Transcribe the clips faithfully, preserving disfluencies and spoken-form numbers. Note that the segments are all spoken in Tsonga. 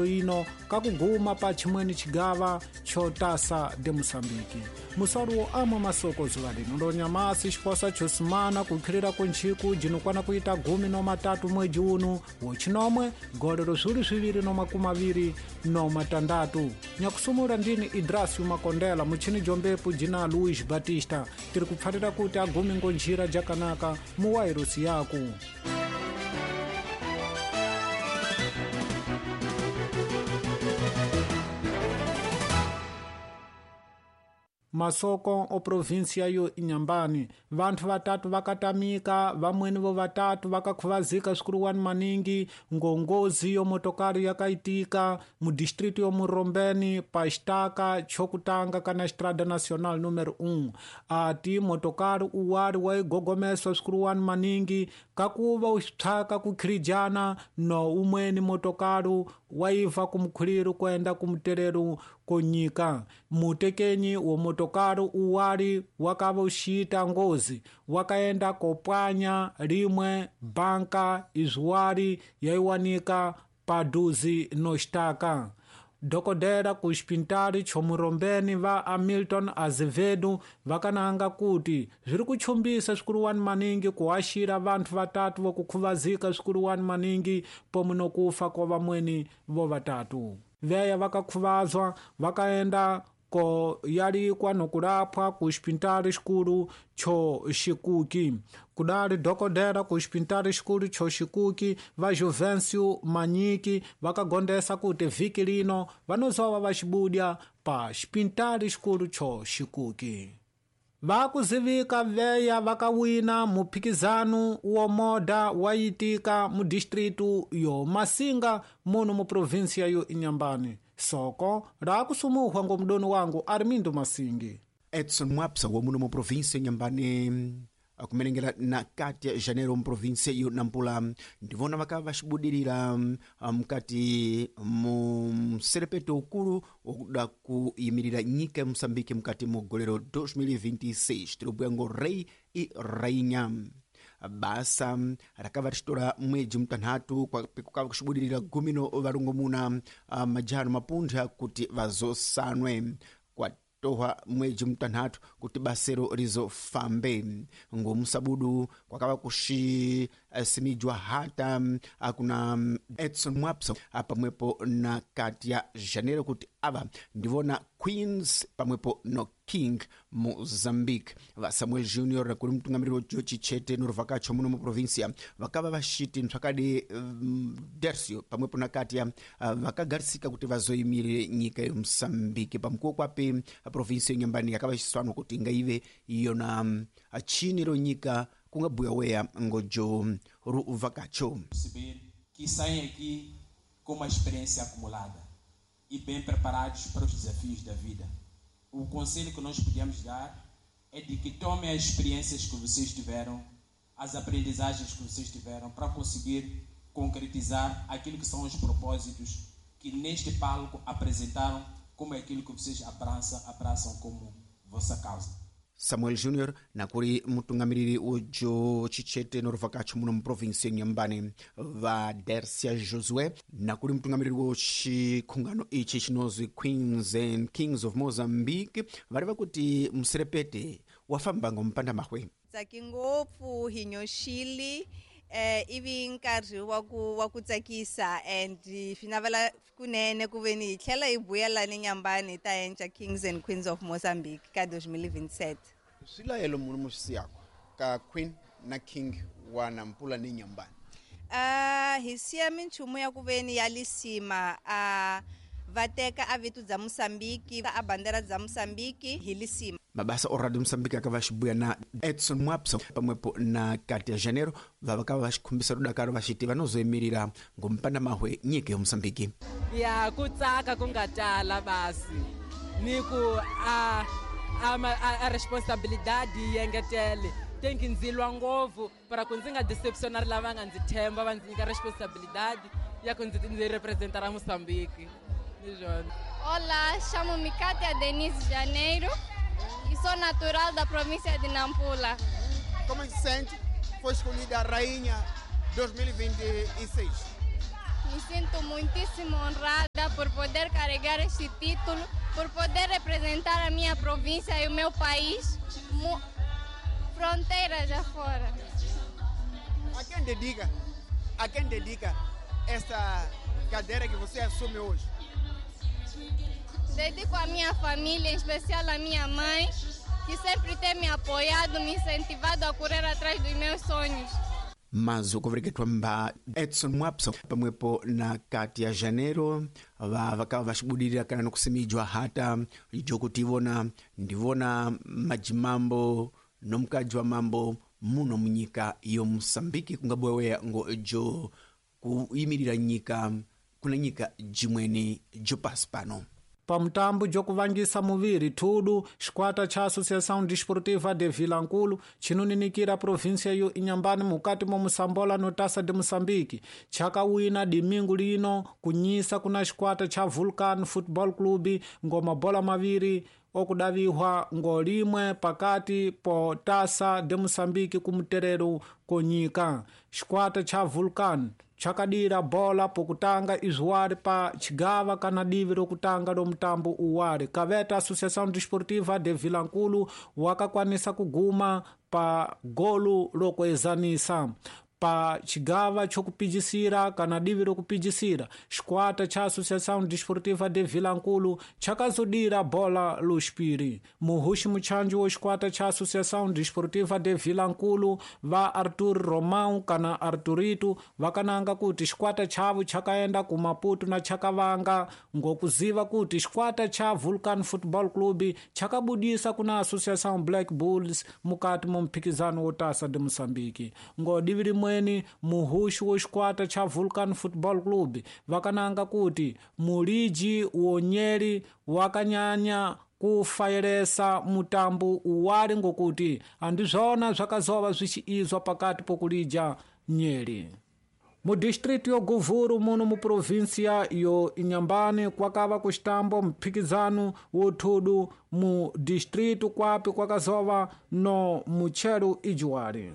Ino kakuguma pa chimweni chigava chotasa de Moçambique. Musaru wo amwe masoko zuva lino lonyamasi xikosa chosimana kukhilira kuntchiku jinokwana kuita gumi no matatu mwedzi uno wochinomwe golero zwili zwiviri no makumi aviri no matandatu. Nyakusumula ndini Idrasio Makondela muchini jombepu jina Luis Batista tiri kupfarira kuti agumi ngonjira jakanaka muwairusi yaku. Masoko o província yo Inhambane vanthu vatatu vakatamika vamweni vo vatatu vakakhuvazika swikuruwani maningi ngongozi yo motokari yakaitika mu distrito yo Murombeni pa xitaka chokutanga kana Estrada Nacional número um. Ati motokari uwari waigogomeswa swikuruwani maningi kakuva uxitshaka kukhirijana no umweni motokari waiva kumkhuliro kwenda kumterero konyika. Mutekenyi wo motokari uwari wakava uxita ngozi wakaenda kopwanya rimwe banka izwari yaiwanika paduzi no xitaka. Dokodera ku xipintari chomurombeni va Hamilton Azevedo vakananga kuti zviri kuchumbisa swikuruwani maningi kuaxira vanthu vatatu vokukhuvazika swikuruwani maningi pomwe nokufa kwa vamweni vo vatatu. Veya vakakhuvazwa vakaenda ko yalikwa nokulapwa ku xipintari xikulu cho Xikuki. Kudali dokodera ku xipintari xikulu cho Xikuki va Juvencio Manyiki vakagondesa kuti vhiki lino vanozova va xibudya pa xipintari xikulu cho Xikuki. Vakuzivika veya vakawina muphikizano wo moda wayitika mu distritu yo Masinga muno mu província yo Inhambane. Soko rakusumuhwa ngomdoni wangu Armindo Masingi. Edson Mwapsa wa muno mu província Inhambane akumenengera na kati ya janeiro mu província yo Nampula ndivona vakava vaxibudirira mukati mu mserepeto ukulu wokuda kuyimirira nyika ya Moçambique mukati mu golero dois mil e vinte e seis tirobwiya ngo rei e rainha. Basa rakava richitora mwedzi mutanhatu kukava kuxibudirira gumi no varongomuna majano mapuntha kuti vazosanwe kwa tohwa mwedzi mutanhatu kuti basero rizofambe. Ngomusabudu kwakava kuxisimijwa hata kuna Edson Mwapsa pamwepo na kati ya janeiro kuti ava ndivona Queens pamwepo no King Mozambique. Va Samuel Junior kuri mutungamiriri wo George Chete noruvakacho muno mu província vakava vaxiti mtsvakadi um, Dercio pamwepo na Katia uh, vakagarisika kuti vazoyimirire nyika ya Moçambique pamukuwo kwapi província Inhambane yakava xiswano kuti ingaive yona um, chini ro nyika kungabuya weya ngojo ruvakacho. Perceber que saem aqui com uma experiência acumulada e bem preparados para os desafios da vida. O conselho que nós podemos dar é de que tomem as experiências que vocês tiveram, as aprendizagens que vocês tiveram, para conseguir concretizar aquilo que são os propósitos que neste palco apresentaram, como é aquilo que vocês abraçam, abraçam como vossa causa. Samuel Junior nakuri mutungamiriri ujo Chichete noruvakacho muno mu província Inhambane va Dercia Josué nakuri mutungamiriri wo xikhungano ichi chinozwi Queens and Kings of Mozambique vari vakuti muserepete wafamba ngompanda mahwe. Tsaki ngopfu hinyoxili eh ivi nkarhi wa ku wa ku tsakisa and swi navela kunene ku ve ni hi tlhela hi vuyela ni Inhambane hi ta endla Kings and Queens of Mozambique ka dois mil e vinte e sete. Swilayelo munhu musiyako ka Queen na King wa Nampula ni Inhambane. Ah hi siya minchumu ya ku ve ni ya lisima a va teka a vito bya Moçambique a bandera bya Moçambique hi lisima. Mabasa o Radio Moçambique akava xibuya na Edson Mwapsa pamwepo na kati ya janeiro vavakava vaxikhumbisa rudakaro vaxiti vanozoyimirira ngompanda mahwe nyika ya Moçambique. Ya ku tsaka ku nga tala basi ni ku a a, a, a responsabilidade yi engetele tem que ndzi lwa ngopfu para ku ndzi nga decepcionar lava nga ndzi themba va ndzi nyika responsabilidade ya ku ndzi ndzi representar a Moçambique. Olá, chamo-me Cátia Denise Janeiro e sou natural da província de Nampula. Como se sente? Foi escolhida a rainha dois mil e vinte e seis. Me sinto muitíssimo honrada poder carregar este título, por poder representar a minha província e o meu país, fronteiras afora. A quem dedica, a quem dedica esta cadeira que você assume hoje? Dedico à minha família, em especial à minha mãe, que sempre tem me apoiado, me incentivado a correr atrás dos meus sonhos. Mas okuvereketwa mba Edson Mwapso pamwepo na kati ya Janeiro va vakava vaxibudirira kana nokusimijwa hata jokuti ivona ndivona majimambo nomukadzi wa mambo muno munyika yo Moçambique kungaboweya ngo jo kuyimirira nyika kuna nyika jimweni jopasi pano. Pamutambo jokuvangisa muviri tudo xikwata cha Associação Desportiva de Vilankulo chinoninikira província yo Inhambane mukati mo Moçambola no Taça de Moçambique chakawina domingo lino kunyisa kuna xikwata cha Vulcan Football Club ngoma bola maviri okudavihwa ngolimwe pakati po Taça de Moçambique kumuterero konyika. Xikwata cha Vulcan chakadira bola pokutanga izuwari pa chigava kana divi rokutanga lomutambo uwari. Kaveta Associação Desportiva de Vilankulo wakakwanisa kuguma pa golu lokuezanisa pa chigava chokupijisira kana divi rokupijisira. Xikwata cha Associação Desportiva de Vilankulo chakazodira bola luspiri. Muhuxi muchanji wo xikwata cha Associação Desportiva de Vilankulo va Arthur Romão kana Arthurito vakananga kuti xikwata chavo chakaenda ku Maputo na chakavanga ngokuziva kuti xikwata cha Vulcan Football Club chakabudisa kuna Associação Black Bulls mukati mo mphikizano wo Taça de Moçambique. Ngo divi rimwe muhuxi wo xikwata cha Vulcan Football Club vakananga kuti muliji wonyeri wakanyanya kufayelesa mutambo uwali ngokuti andizvona zvakazova zvichiizwa pakati pokulija nyeri. Mu distrito yo Govuro muno mu província yo Inhambane kwakava kuxitambo mphikizano wo thudu mu distrito kwapi kwakazova no muchero ijuwali.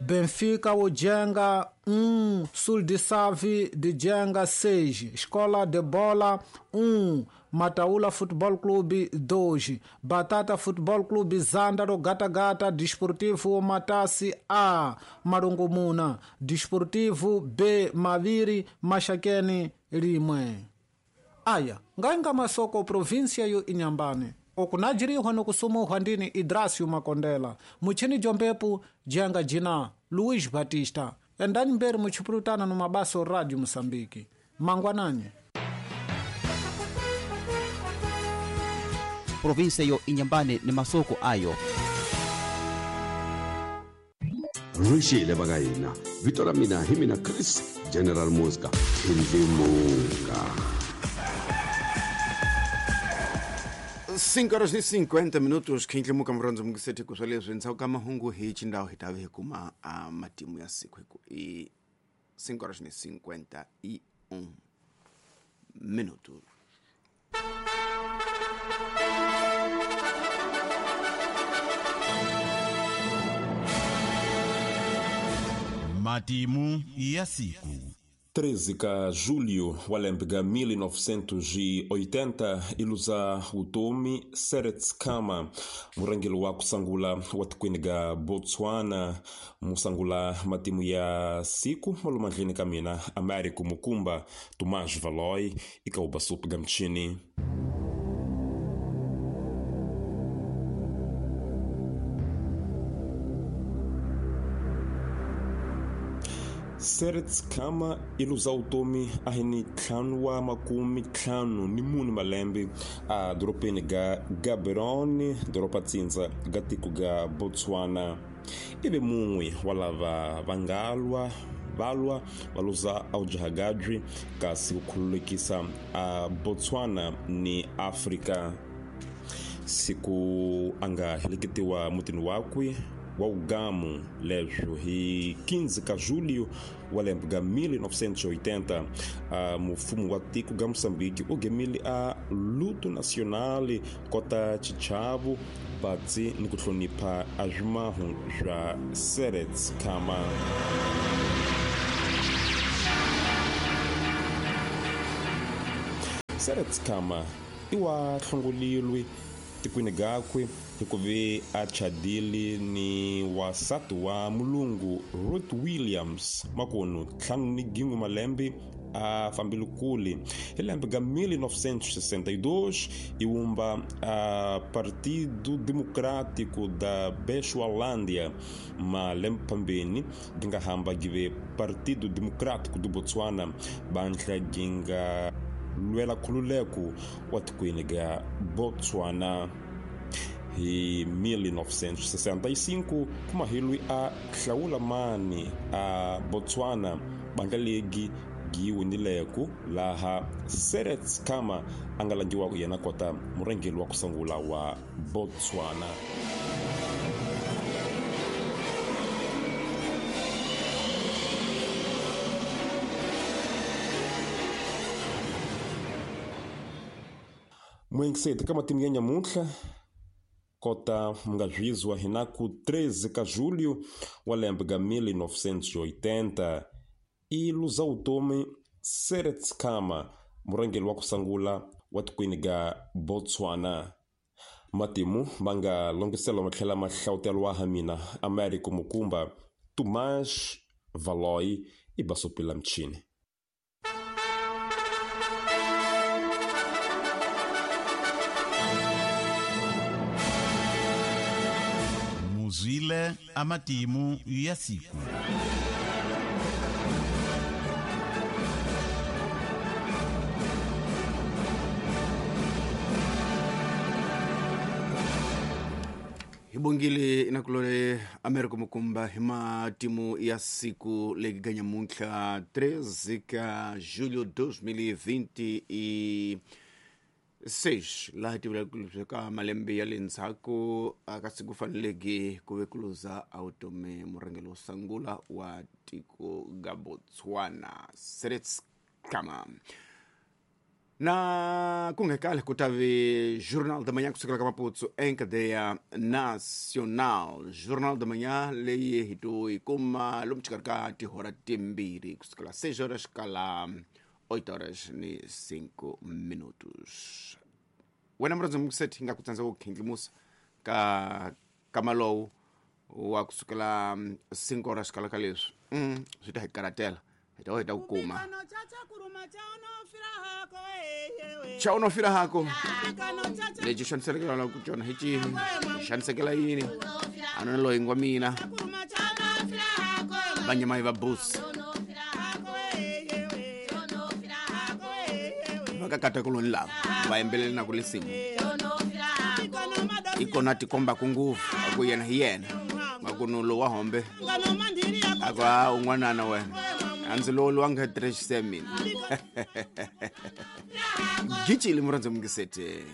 Benfica o Jenga um, Sul de Save de Jenga seis, Escola de Bola um, Mataula Futebol Clube dois, Batata Futebol Clube Zandaro Gata Gata, Desportivo Matassi A, Marungumuna, Desportivo B, Maviri, Maxaquene, rimwe. Aya, ngainga masoko província yo Inhambane. Okunajirihwa nokusumuhwa ndini Idrasio Makondela, muchini jombepu jenga jina Luiz Batista. Endani mberi muchipurutana no mabaso Radio Moçambique. Mangwananye. Província yo Inhambane ni masoko ayo. Ruxile va ka hina vito ra mina hi mina Chris General Mosca Ndlimunga. cinco horas e cinquenta minutos khinhlimuka murondzo mungiseti ku swaleswi ndzhaku ka mahungu hi xindhawu hi ta ve hi kuma a matimu ya siku hi ku i cinco horas e cinquenta e um minutos. Matimu ya siku treze ka julho wa lembe ga mil novecentos e oitenta iluza utomi Seretse Khama murangeli wa kusangula wa tikwini ga Botswana musangula matimu ya siku malumandleni ka mina Américo Mukumba Tomás Valoy ikauba supu ga mchini. Seretse Khama iluza utomi ahini ntlhanu wa makume ntlhanu ni mune malembe a doropeni ga Gaborone doropa tsindza ga tiko ga Botswana. Ive mun'we wa lava va nga lwa valwa va luza aujahagadri kasi ku khululekisa a Botswana ni Afrika. Siku a nga heleketiwa mutini wakwe wa ugamu leswo hi quinze ka julho wa lembe ga mil novecentos e oitenta a mufumo wa tiko ga Moçambique u gemile a luto nacional kota xichavo batsi ni ku hlonipha a swimahu swa Seretse Khama. Seretse Khama i wa hlongolilwe tikweni gakwe hikuva a chadile ni wasati wa mulungu Ruth Williams makunu ntlhanu ni gin'we malembe a fambile kule hi lembe ga mil novecentos e sessenta e dois i wumba a Partido Democrático da Bechualândia malembe pambeni gi nga hamba gi ve Partido Democrático do Botswana bandla gi nga lwela nkhululeko wa tikweni ga Botswana. Hi mil novecentos e sessenta e cinco kumahilwi a hlawula mani a Botswana bandla legi gi winileko laha Seretse Khama a nga langiwa yena kota murhangeri wa ku sungula wa Botswana. Mwengiseti ka matimu ya nyamuntlha kota mungazvizwa hinaku treze ka julho wa lembe ga mil novecentos e oitenta i luza vutomi Seretse Khama murhangeri wa ku sungula wa tikweni ga Botswana. Matimu ma nga longisela ma tlhela ma hlawuteriwa ha mina Americo Mukumba Tomás Valoy i basopela mchini. Muzwile amatimu ya siku. Hibongile inakulole Americo Mukumba hi matimu ya siku legi nyamuntlha treze ka julho dois mil e vinte e seis laha tivula ka malembe ya le ndzhaku ka siku faneleke ku ve ku luza a vutomi murhangeri wo sungula wa tiko ga Botswana Seretse Khama. Na kungekale ku ta ve Jornal da Manhã kusukela ka Maputo em cadeia nacional. Jornal da Manhã leyi hi to yi kuma lomu xikarhi ka tihora timbirhi kusukela seis horas kala oito horas ni cinco minutos. Wena murhandzi mukuseti hi nga ku tsandza ku khindlimusa ka ka malowu wa kusukela cinco horas kala ka leswi mm, swi ta hi karatela hi ta hi ta ku kuma cha unofira hako lexi xanisekela la ku tjona hi cihi xanisekela yini a no loyi ngwa mina vanyama va busi vakakata kuloni lava va yimbelela na ku lisimu ikona tikomba ku nguvu a ku yena hi yena makuno lowa hombe a ku a un'wanana wena a ndzi lowu lowa nga trexise mina gicile murhandzi mungisete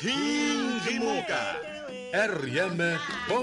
Hingimuka R M